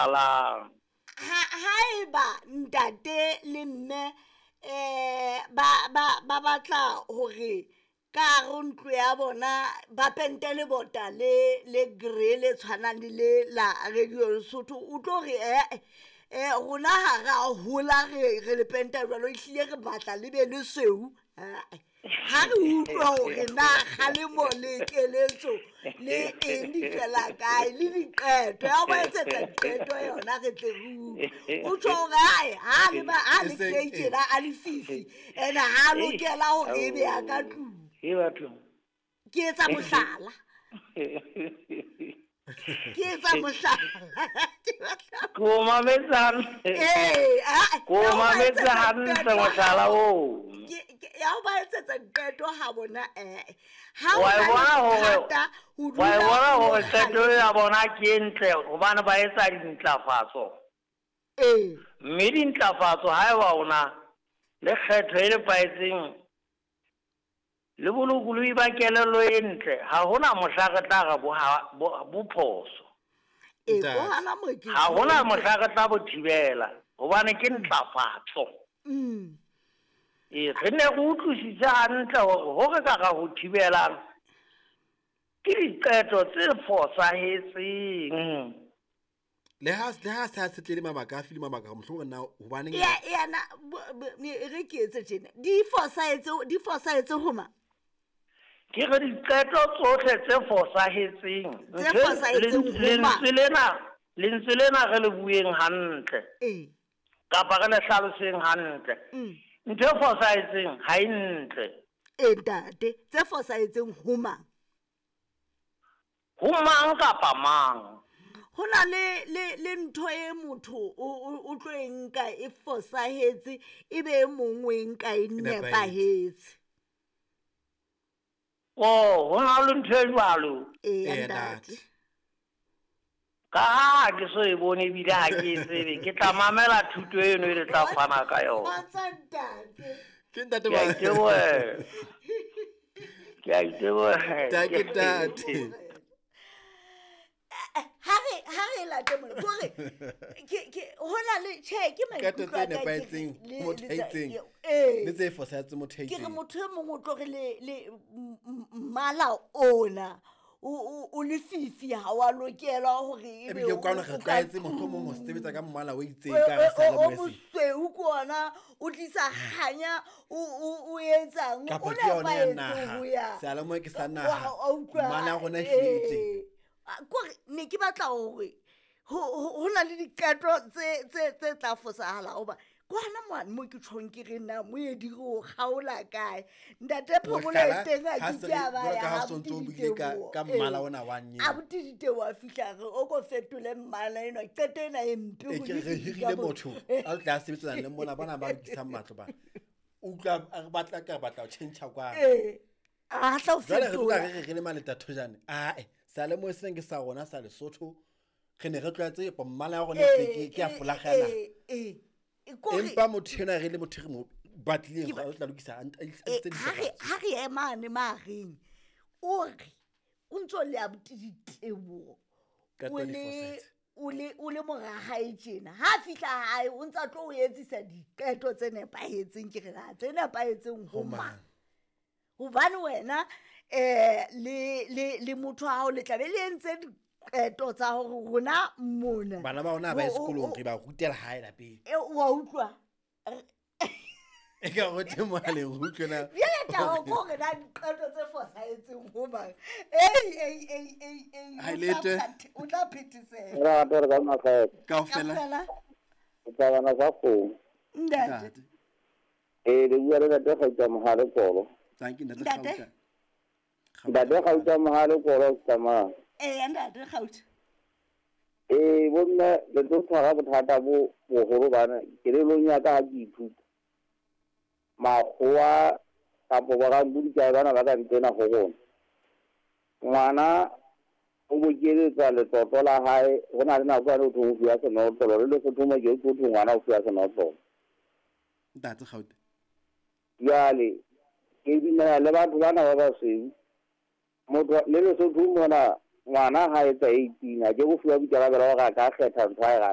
Alang. Ha haeba ntate le mme ba batla hore ka hare ho ntlo ya bona ba pente lebota le grey le tshwanang le le la Radio Lesotho, o tlo re eh rona ha ra hola re le penta jwalo, ehlile re batla le be lesweu. Ha re utlwa hore na kgalemo le keletso le eng di fela kae le diqeto ya ho ba etsetsa diqeto yona re tle re utlwe. O tjho hore ae ha le ba ha le grey tjena a lefifi ene ha lokela hore ebe ya ka tlung. Ke batho. Ke etsa mohlala. Ke etsa mohlala. Ke o mametse hantle. Ee, Ke o mametse hantle mohlala oo. Ya ho ba etsetsa diqeto ha bona ha Wa o e na le bona hore bothata, ho wa e dula bona o hore qeto kgalema. ya bona ke e ntle hobane ba etsa dintlafatso. Ee. Mme dintlafatso haeba o na le kgetho e nepahetseng le bolokolohi ba kelello e ntle, ha hona mohla re tla re bo phoso. Ee, Ntate. ko hana mo ke Ha hona mohla re tla bo thibela hobane ke ntlafatso. Ee, re ne re utlwisise hantle hore ho re ka ra ho thibelang ke diqeto tse fosahetseng. Le ha se a setlele mabaka a file mabaka mohlomong na hobaneng Ya na re ke etse tjena. Di fosahetse ho mang? Ke re diqeto tsohle tse fosahetseng. Tse fosahetseng ho mang? Lentswe lena re le bueng hantle. Ee. Kapa re le hlaloseng hantle. Ntho e fosahetseng ha e ntle. Ee, ntate, tse fosahetseng ho mang? Ho mang kapa mang? Ho na le ntho e motho o tlo e nka e fosahetse, ebe e mong o e nka e nepahetse. Oh, ho na le ntho e jwalo. Ee, Ee, ntate. ntate. Ka ha ke so e bone ebile ha ke e tsebe, ke tla mamela thuto eno e le tla fana ka yona. Kgotsa ntate. Ke ntate Ke a ba- itebohela. Ke a itebohela. Ntate, ntate. Ha re late mona, kore ke hona le tjhe, ke Qeto maikutlo tse a ka ke re nepahetseng le- motho le a tsa- itseng, ee. le tse fosahetseng motho a Ke re itseng. motho e mong o tlo re le mmala ona o lefifi ha wa lokela hore ebe Ebile kwano re o ka tlwaetse tlung. mohlomong ho sebetsa ka mmala o itseng O ka hara o seyalemoya sena. mosweu ke ona, o tlisa kganya, o etsang, Kapa o ke yona ya nepahetse naha. ho ya. Seyalemoya ke sa Wa- naha. wa utlwa, Mmala wa rona ehlile e teng. ee. Kore ne ke batla hore ho na le diqeto tse tla fosahala hoba ke hona mane mo ke tjhong ke re na moedi re o kgaola kae. Ntate Phomolo e Mohlala, teng ha ha ke se ke a re- ba jwalo ya ka ha ha o sontso o Abuti buile Diteboho. ka mmala Ee. ona wa nyeo. Abuti Diteboho a fihla re o ko fetole mmala enwa, qeto ena e mpe Ee, ho ke re lefifi hirile ka mo- motho a tla sebetsana le mona bana ba lokisang matlo bana. O utlwa a re batla ka re batla ho tjhentjha kwano. Ee. A tla o Jwale re dula fetola. re re re le maleta thojane. Ae, seyalemoya sena ke sa rona sa Lesotho. Re ne re tlwaetse mmala ya rona Ee, ke ya ee, folaga ya naha. ee, ee. E kore Empa motho enwa re le motho re mo batlileng Ke ba- hore o tla lokisa a nt- a Eh, tlise ha re dintlafatso. ha re emane mahareng, o re o ntso le abuti Diteboho, Qeto o di le fosahetse. o le mora hae tjena. Ha a fihla hae o ntsa tlo o etsisa diqeto tse nepahetseng, ke re na tse nepahetseng ho Ho mang? mang? Hobane wena le motho wa hao le tla be le entse diqeto tsa hore rona mona. Bana ba rona ha ba ye sekolong, O- re ba rutela hae lapeng. E, wa utlwa? E ka re teng mohaleng, re utlwe na. Jwale taba ke hore na diqeto tse fosahetseng ho mang? Ei, ei, ei, ei, ei, Ha o e tla lete. o tla phethesela. Re rata re ka makgetho. Kaofela. Kaofela. O tla bana sa kgomo. Ntate. Ntate. Ee, le bua le ntate Kgauta Mohale Kolo. Thank you, Ntate Ntate. Kgauta. Ntate Kgauta Mohale Kolo, tsamaya. Ee, Ntate Kgauta. Ee, bomme le tlo tshwara bothata bo boholo bana kelellong ya ka ha ke ithuta. Makgowa kapo borampodi bana ba ka ntsena ho rona. Ngwana o bokeletsa letlotlo la hae, ho na le nako yane ho thweng o fuwa senotlolo, le Lesotho mo ke ho thwe ngwana o fuwa senotlolo. Ntate Kgauta. Jwale ke dumela le batho bana ba basweu. Motho le Lesotho mona Ngwana ha etsa 18 a ke go fuwa boikarabelo hore a ka kgetha ntho a e ratang.